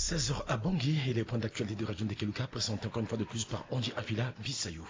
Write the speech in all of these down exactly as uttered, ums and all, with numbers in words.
Seize heures à Bangui et les points d'actualité de Radio Ndekeluka présentés encore une fois de plus par Andy Avila Bissayo.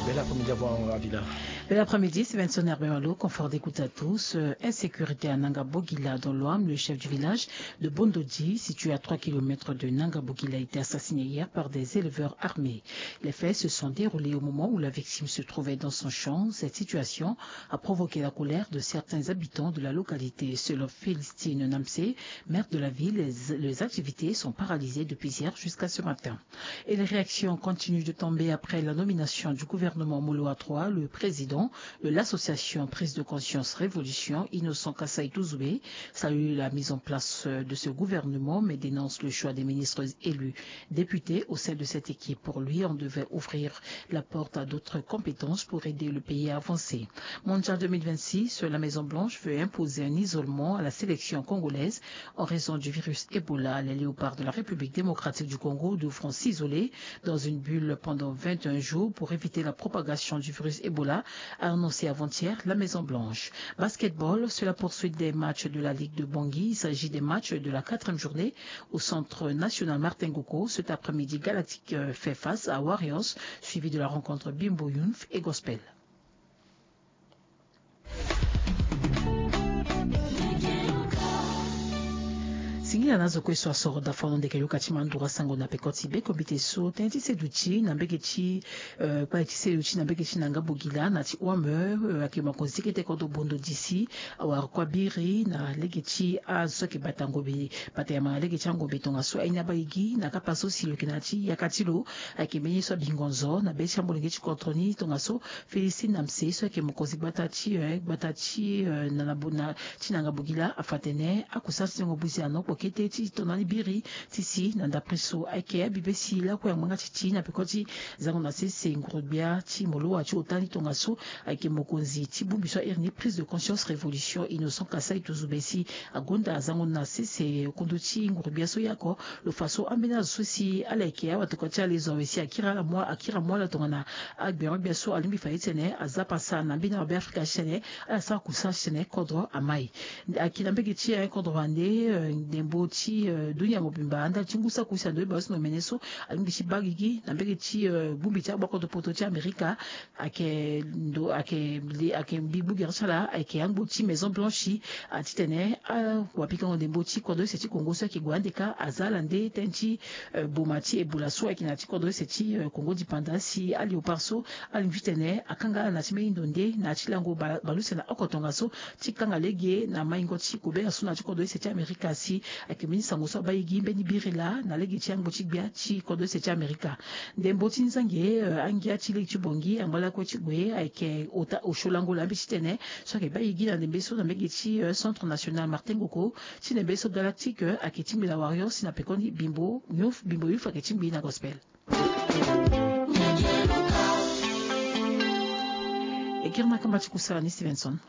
Bel après-midi à vous, Avila. Bel après-midi, c'est Vincent Herbert Malo. Confort d'écoute à tous. Euh, insécurité à Nanga Bogila, dans l'Ouham. Le chef du village de Bondodi, situé à trois kilomètres de Nanga Bogila, a été assassiné hier par des éleveurs armés. Les faits se sont déroulés au moment où la victime se trouvait dans son champ. Cette situation a provoqué la colère de certains habitants de la localité. Selon Félistine Namsé, maire de la ville, les, les activités sont paralysées depuis hier jusqu'à ce matin. Et les réactions continuent de tomber après la nomination du gouvernement Moloa trois. Le président de l'association Prise de Conscience Révolution, Innocent Kassai Touzoubé, salue la mise en place de ce gouvernement, mais dénonce le choix des ministres élus députés au sein de cette équipe. Pour lui, on devait ouvrir la porte à d'autres compétences pour aider le pays à avancer. Mondial deux mille vingt-six, la Maison-Blanche veut imposer un isolement à la sélection congolaise en raison du virus Ebola. Les Léopards de la République démocratique du Congo devront s'isoler dans une bulle pendant vingt et un jours pour éviter la propagation du virus Ebola, a annoncé avant-hier la Maison-Blanche. Basketball, c'est la poursuite des matchs de la Ligue de Bangui. Il s'agit des matchs de la quatrième journée au Centre national Martin Goko. Cet après-midi, Galactique, euh, fait face à Warriors, suivi de la rencontre Bimbo Youth et Gospel. Singila na zo kue so asoro da fano ndeke yoka ti mandura sango na peko ti be komite so tënë ti seduti na mbege ti, euh, kpale ti seduti na mbege ti Nanga Bogila na ti Ouham, euh, ayeke mokonzi ti kete kodro Bondodi si awara kue abiri na lege ti azo so ayeke bata ngombe, bata yama na lege ti angombe tongaso aye ni abaa gi na kapa so si lo yeke na ya ti yaka ti lo. Ayeke mbeni ye so abingo nzo na be ti amolenge ti kodro ni tongaso Félicité Namsé so ayeke mokonzi gbata ti, eh, gbata ti, eh, na, na, na, ti Nanga Bogila afa atene akusara ti tengo buzi anokpo kete ti tona ni biri ti si na ndapre so ayeke abibe si lakue angbanga ti ti na peko ti zango na sese nguru-gbia ti Moloa ti ota ni tongaso ayeke mokonzi ti bongbi so ahiri ni Prise de Conscience Révolution Innocent Kassai Touzoubé si agonda zango na sese kundu ti nguru-gbia so ye oko. Lo fa so ambeni azo so si ala yeke awatokua ti ala e zo awe si akiri ala mu, akiri amu ala tongana agberogbia so alingbi fa ye ti tene aza pasa na mbeni awabe Afrika ti tene ala sara kusara ti tene kodro amai. Ayeke na mbege ti, eh, kodro wande, eh, ndembo ti, eh, dunia mobimba ndali ti ngu saki use na ndo ti bale so na omene so alingbi ti baa gigi na mbege ti, eh, bongbi ti agbakodro poto ti Amerika. Ayeke ndo, ayeke li, ayeke mbi gbugere ti ala ayeke angbo ti Maison Blanche, ah, titene awapikango ndembo ti kodro use ti Congo so ayeke gue ande kâ aza ala nde tënë ti, eh, boma ti Ebola so ayeke na ya ti kodro use ti, eh, Congo dipanda si aléopard so alingbi ti tene akanga ala na ya ti mbeni ndo nde na ya ti lango ba, bale use na oko tongaso ti kanga lege na maingo ti kobela so na ya ti kodro use ti Amerika si ayeke mbeni sango so abaa gi mbeni biri laa na lege ti angbo ti gbia ti kodro use ti Amerika. Ndembo ti nzangi, eh, angia ti lege ti Bangui angba lakue ti gue ayeke ota osio lango laa mbi ti tene so ayeke baa gi na ndembe so na mbege ti, eh, Centre National Martin Goko ti ndembe so Galactique, eh, ayeke tingbi na Warriors si na pekoni Bimbo Youth, Bimbo Youth ayeke tingbi na Gospel. E kiri na kamba ti kusala ni Stevenson.